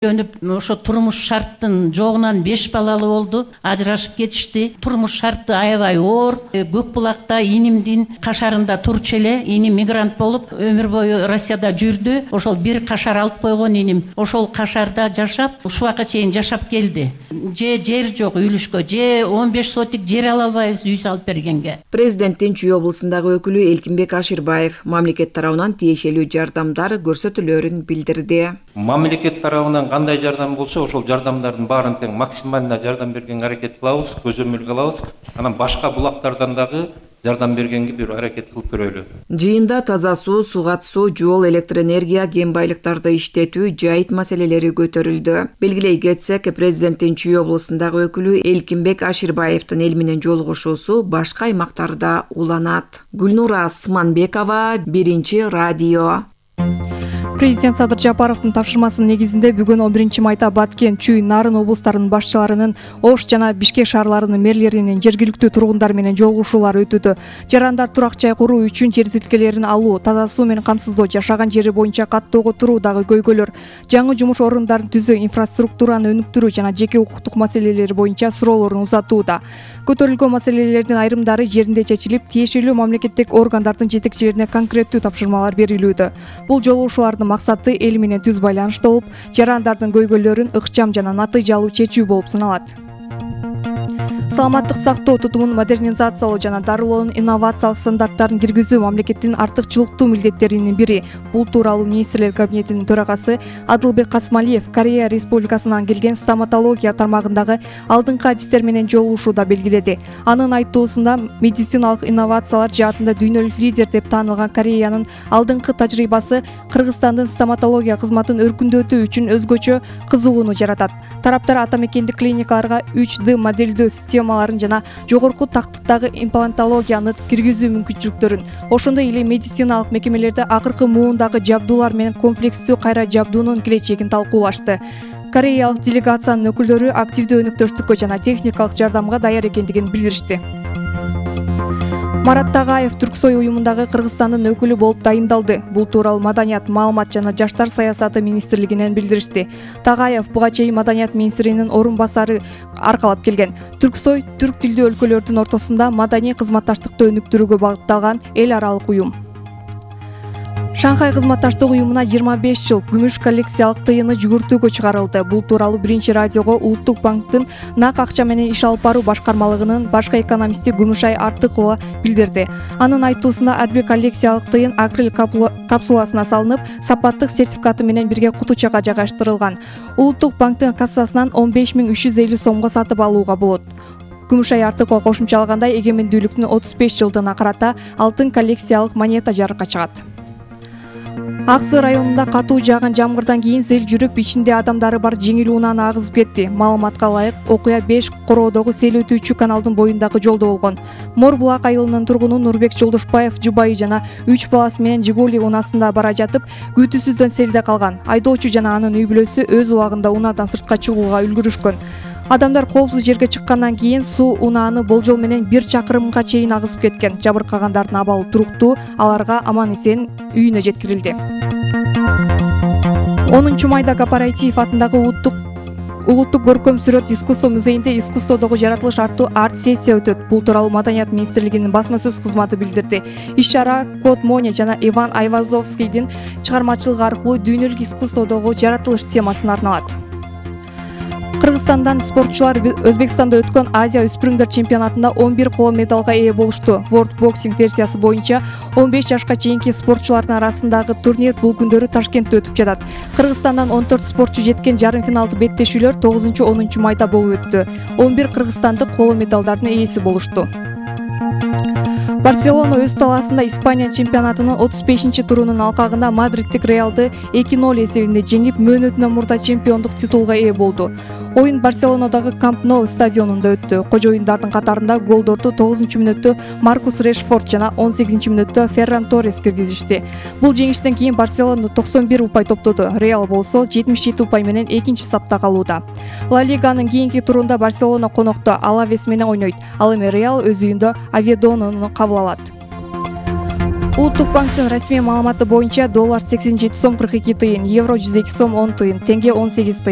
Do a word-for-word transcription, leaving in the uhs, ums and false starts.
Өнүп ошо турмуш шарттын жогунан беш балалы болду, ажырашып кетишти. Турмуш шарты аябай оор. Көк булакта инимдин кашарында турчу эле. Иним мигрант болуп өмүр бою Россияда жүрдү. Ошол бир кашар алып койгон иним. Ошол кашарда жашап, ушуга чейин жашап келди. Же жер жок үйлүшкө, же он беш сотик жер ала албайбыз үй салып бергенге. Президенттин Чүй облусундагы өкүлү Элкинбек Аширбаев мамлекет тарабынан тиешелүү жардамдар көрсөтүлөрүн билдирди. Мамлекет тарабынан кандай жардам болсо, ошол жардамдардын баарын тең максимална жардам бергенге аракет кылабыз, көзөмөлгө алабыз. Анан башка булактардан дагы жардам бергенге бир аракет кылып көрөлү. Жыйында таза суу, суу катышуу, жол, электр энергия, кен байлыктарды иштетүү, жайыт маселелери көтөрүлдү. Белгилей кетсек, президенттин Чүй облусундагы өкүлү Элкинбек Аширбаевдин эл менен жолугушуусу башка аймактарда уланат. Гүлнура Асманбекова, Биринчи радио. Президент Садыр Жапаровдун тапшырмасынын негизинде бүгүн он биринчи майда Баткен, Чүй, Нарын облустарынын башчыларынын, Ош жана Бишкек шаарларынын мэрлеринин жергиликтүү тургундар менен жолугушуулары өтүүдө. Жарандар турак жай куруу үчүн жер тилкелерин алуу, таза суу менен камсыздоо, жашаган жери боюнча каттоого туруу дагы көйгөйлөр, жаңы жумуш орундарын түзүү, инфраструктураны өнүктүрүү жана жеке укуктук маселелери боюнча суроолорун узатууда. Көтөрүлгөн маселелердин айрымдары жеринде чечилип, тиешелүү мамлекеттик органдардын жетекчилерине конкреттүү тапшырмалар берилүүдө. Бул жолугушуулардын максаты эл менен түз байланышта болуп, жарандардын көйгөйлөрүн ыкчам жана натыйжалуу чечүү болуп саналат. Саламаттык сактоо тутумун модернизациялоо жана дарылоонун инновациялык стандарттарын киргизүү мамлекеттин артыкчылыктуу милдеттеринин бири. Бул тууралуу министрлер кабинетинин төрагасы Адылбек Касмалиев Корея Республикасынан келген стоматология тармагындагы алдыңкы адистер менен жолугушууда белгиледи. Анын айтуусунда медициналык инновациялар жаатында дүйнөлүк лидер деп таанылган Кореянын алдыңкы тажрыйбасы Кыргызстандын стоматология кызматын өркүндөтүү үчүн өзгөчө кызыгууну жаратат. Тараптар ата мекендик клиникаларга үч дэ моделдөө системаларын жана жогорку тактыктагы имплантологияны киргизүү мүмкүнчүлүктөрүн, ошондой эле медициналык мекемелерде акыркы муундагы жабдуулар менен комплекстүү кайра жабдуунун келечегин талкуулашты. Кореялык делегациянын өкүлдөрү активдүү өнөктөштүккө жана техникалык жардамга даяр экендигин билдиришти. Марат Тагаев Түрксой уюмундагы Кыргызстандын өкүлү болуп дайындалды. Бул тууралуу Маданият, маалымат жана жаштар саясаты министрлигинен билдиришти. Тагаев буга чейин Маданият министринин орун басары аркалап келген. Түрксой түрк тилдүү өлкөлөрдүн ортосунда маданий кызматташтыкты өнүктүрүүгө багытталган эл аралык уюм. Шанхай кызматташтык уюмуна жыйырма беш жыл күмүш коллекциялык тыйыны жүгүртүүгө чыгарылды. Бул тууралуу Биринчи радиого Улуттук банктын нак акча менен иш алып баруу башкармалыгынын башкы экономисти Гүмүшай Артыкова билдирди. Анын айтуусунда ар бир коллекциялык тыйын акрил капсуласына салынып, сапаттык сертификаты менен бирге кутучага жайгаштырылган. Улуттук банктын кассасынан он беш миң үч жүз элүү сомго сатып алууга болот. Гүмүшай Артыкова кошумчалагандай, эгемендүүлүктүн отуз беш жылдыгына карата алтын коллекциялык монета жарыкка чыгат. Аксы районунда катуу жааган жамгырдан кийин сел жүрүп, ичинде адамдары бар жеңил унааны агызып кетти. Маалыматка ылайык, окуя беш короодогу сел өтүүчү каналдын боюндагы жолдо болгон. Мор булак айылынын тургуну Нурбек Жолдошбаев жубайы жана үч баласы менен Жигули унаасында бара жатып, күтүүсүздөн селде калган. Айдоочу жана анын үй бүлөсү өз убагында унаадан сыртка чыгууга үлгүрүшкөн. Адамдар коопсуз жерге чыккандан кийин суу унааны болжол менен бир чакырымга чейин агызып кеткен. Жабыркагандардын абалы туруктуу, аларга аман-эсен үйүнө жеткирилди. онунчу майда Кооператив атындагы улуттук Улуттук көркөм сүрөт искусство музейинде искусстводогу жаратылыш артуу арт-сессия өтөт. Бул тууралуу Маданият министрлигинин басма сөз кызматы билдирди. Иш-чара Клод Моня жана Иван Айвазовскийдин чыгармачылыгы аркылуу дүйнөлүк искусстводогу жаратылыш темасына арналат. Кыргызстандан спортчулар Өзбекстанда өткөн Азия өспүрүмдөр чемпионатында он бир коло медалга ээ болушту. World Boxing версиясы боюнча он беш жашка чейинки спортчулардын арасындагы турнир бул күндөрү Ташкентте өтүп жатат. Кыргызстандан он төрт спортчу жеткен жарым финалдуу беттешүүлөр тогузунчу онунчу майда болуп өттү. он бир кыргызстандык коло медалдардын ээси болушту. Барселона өз талаасында Испания чемпионатынын отуз бешинчи турунун алкагында Мадридтик Реалды эки ноль эсебинде жеңип, мөөнөтүнөн мурда чемпиондук титулга ээ болду. Оюн Барселонадагы Камп Nou стадионунда өттү. Кожоюндардын катарында голдорду тогузунчу мүнөттө Маркус Решфорд жана он сегизинчи мүнөттө Ферран Торрес киргизишти. Бул жеңиштен кийин Барселона токсон бир упай топтоду. Реал болсо жетимиш жети упай менен экинчи сапта калууда. Ла Лиганын кийинки турунда Барселона конокто Алавес менен ойнойт. Ал эми Реал өз үйүндө Аведону кабыл алат. Улуттук банктын расмий маалыматы боюнча доллар сексен жети сом кырк эки тыйын, евро жүз эки сом он тыйын, теңге он сегиз тыйын.